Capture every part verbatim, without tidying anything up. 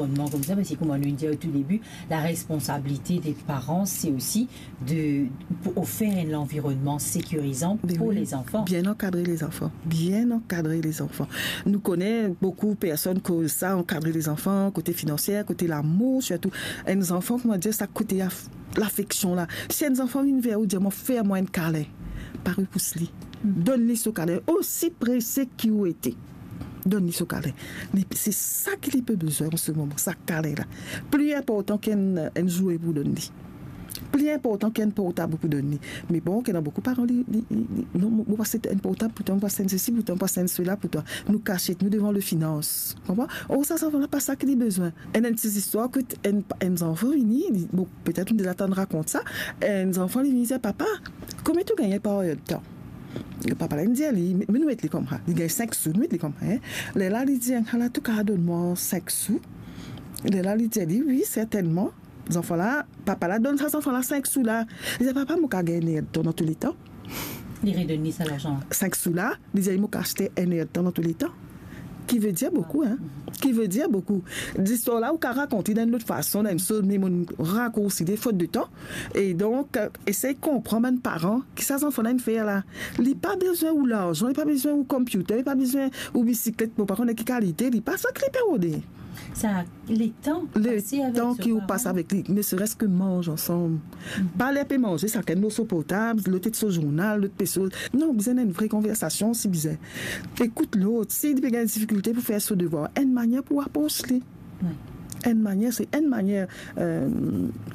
Kouma nou dir o tou debi, la responsabilite de paran, se osi de, pou ofer enn lanvironnman sekirizan pou lezanfan. Bien ankadre lezanfan. Bien ankadre lezanfan. Nou kone boukou personn koz sa, ankadre lezanfan, kote finansier, kote lamour, sirtou enn zanfan, kouma dir, sa kote lafeksion la. Si enn zanfan vinn ver ou, dir, "Mo fer mwa enn kale." Pa repous li. Donn li so kale, osi prese ki ou ete. Donn li so kale. Li, se sa ki li pe bizin an se moman, sa kale la. Pli inportan ki enn, enn zoue pou donn li. Pli inportan ki enn portab pou donn li. Me bon, ki ena boukou paran, li, li, li, li, "Non, mo, mo pa aste enn portab pou twa, mo pa aste enn sesi pou twa, mo pa aste enn sela pou twa." Nou kasiet, nou devan le finans. Konpran? Or sa, zanfan la pa sa ki li bizin. Enn, enn ti zistwar ki enn, enn zanfan vini, li, bon, petet nou deza tann rakont sa, enn zanfan li vini dir, "Papa, konbien to gagne par erdtan?" Papa la inn dir li, me, me nou met li koumsa, li gagne sink sou, nou met li koumsa, en. Lerla li dir, "Ala, to kapav donn mwa sink sou?" Lerla li dir li, "Wi, sertennman." Zanfan la, papa la donn sa zanfan la sink sou la. Li dir, "Papa, mo kapav gagne enn erdtan dan touletan?" Li redonn li sa larzan la. Sink sou la, li dir, "Mo kapav aste enn erdtan dan touletan." Ki ve dir boukou, en. Ki ve dir boukou. Zistwar la, ou kapav rakont li dan enn lot fason, dan enn soz, me mo rakoursi li fot de tan. E donk, esey konpran bann paran, ki sa zanfan la inn fer la. Li pa bizin ou larzan, li pa bizin ou computer, li pa bizin ou bisiklet, mo pa kone ki kalite, li pa sa ki li pe rode. Sa, letan, letan ki ou pas avek li, ne seres ke manz ansam. Pa ler pe manze, sakenn so portab, lot ete so zournal, lot pe soz. Non, bizin enn vre konversasion, si bizin. Ekout lot, si li pe gagn difikilte pou fer so devwar, enn manier pou apros li. Enn manier, se enn manier, eh,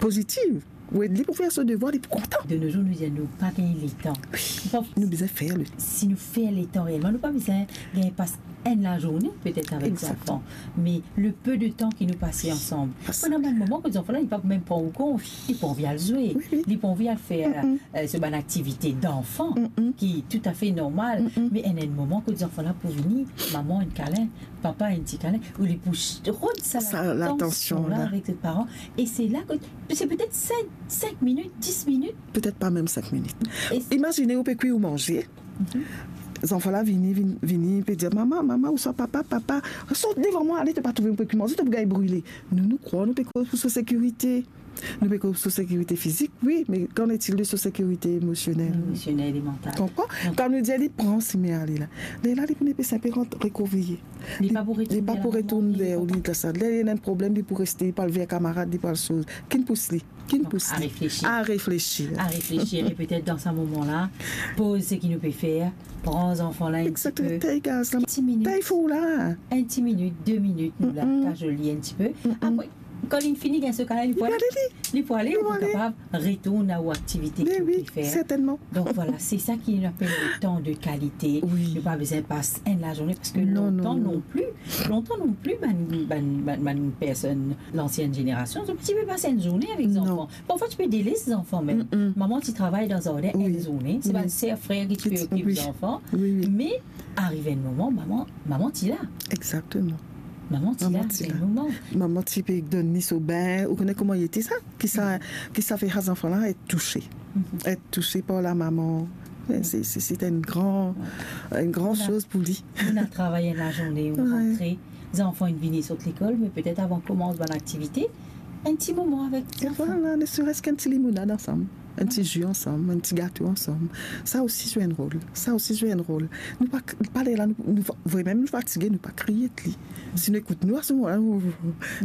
pozitiv. Ou ed li pou fer so devwar, li pou kontan. De nos jours, nou dir nou pa gagn letan. Wi, nou bizin fer letan. Si nou fer letan reelman, nou pa bizin gagn pas enn lazourne petet avek zanfan, me le peu de tan ki nou pase ansam. Ena bann moman kot zanfan la, li pa mem pran ou kont, li pa anvi al zwe, li pa anvi al fer, eh, so bann aktivite danfan, ki toutafe normal, me ena enn moman kot zanfan la pou vini, mama enn kalin, papa enn ti kalin, ou li pou rod sa latansion la avek so paran, e se la ke, se petet sink, sink minit, dis minit. Petet pa mem sink minit. Imazine ou pe kwi ou manze, zanfan la vini, vini, vini, pe dir, "Mama, mama, ouswa papa, papa, sort devan mwa, ale, to pa trouve mo pe kwi manze, to pou gagn brile." Nou, nou krwar nou pe koz pou so sekirite. Nou pe koz pou so sekirite fizik, wi, me qu'en est-il de so sekirite emosionel? Emosionel e mantal. Konpran? Kan nou dir li pran sime ale la, lerla li pou nepes inpe rant rekoviye. Li pa pou retourn ver ou, li, ler li ena enn problem, li pou reste, li pou al ver kamarad, li pou al soz. Ki'nn pous li? Ki'nn pous li? A reflesir. A reflesir. A reflesir, e petet dan sa moman la, poz seki nou pe fer, pran zanfan la enn ti pe. Egzakteman. Tey gaz la. Ti minit. Tey fou la. Enn ti minit, de minit, nou la, kazoli enn ti pe. Apre, kan li fini gagn so kalin, li pou ale. Li pou ale, li pou kapav retourn a ou aktivite ki ou pe fer. Sertennman. Donk vwala, se sa ki nou apel letan de kalite. Nou pa bizin pas enn lazourne, parski lontan non pli, lontan non pli, bann, bann, bann, bann personn, lansienn zenerasion, zot ti pe pas enn zourne avek zanfan. Parfwa ti pe deles zanfan mem. Mama ti travay dan zardin enn zourne, se bann ser, frer ki ti pe okip zanfan. Me arive enn moman, mama, mama ti la. Egzakteman. Mama ti la, ti la. Enn moman. Mama ti pe donn li so bin, ou kone kouma li ete sa? Ki sa, ki sa fer sa zanfan la et touse. Et touse par la mama. Se, se, se enn gran, enn gran soz pou li. Nou travay enn lazourne, nou rantre, zanfan inn vini sot lekol, me petet avan koumans bann aktivite, enn ti moman avek zanfan. Vwala, ne seres ki enn ti limonad ansam, enn ti zi ansam, enn ti gato ansam. Sa osi zwe enn rol. Sa osi zwe enn rol. Nou pa, pa ler la, nou, nou, vremem nou fatige, nou pa kriye li. Si nou ekout nou, a se moman la, nou,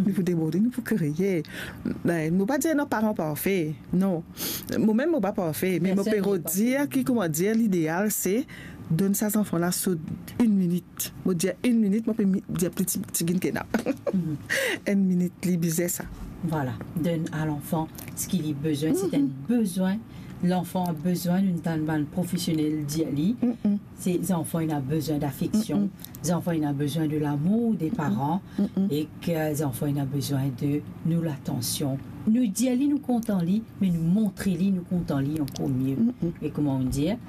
nou pou deborde, nou pou kriye. Be, mo pa dir ena paran parfe, non. Mo mem mo pa parfe, me mo pe rod dir ki, kouma dir, lideal se donn sa zanfan la so enn minit. Mo dir enn minit, mo pe mi-, dir pli ti, ti gin ki ena. Enn minit, li bizin sa. Vwala, donn a lanfan seki li bizin, se enn bizin. Lanfan bizin, nou tann bann profesionel dir li, se zanfan ena bizin dafeksion, zanfan ena bizin de lamour de paran, e ki zanfan ena bizin de nou latansion. Nou dir li nou kontan li, me nou montre li nou kontan li ankor mie. E kouma nou dir,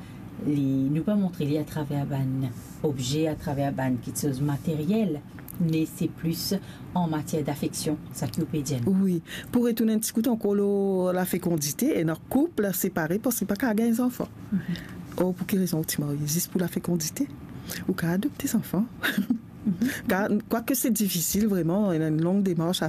li, nou pa montre li atraver bann obze, atraver bann kiksoz materiel, me se plis an matier dafeksion, sa ki ou pe dir nou. Wi, pou retourn enn ti kout ankor lor lafekondite, ena koup separe parski pa kapav gagn zanfan. Or, pou ki rezon ou ti marye? Zis pou lafekondite? Ou kapav adopte zanfan. Car, quoique c'est difficile vraiment, il y a une longue démarche à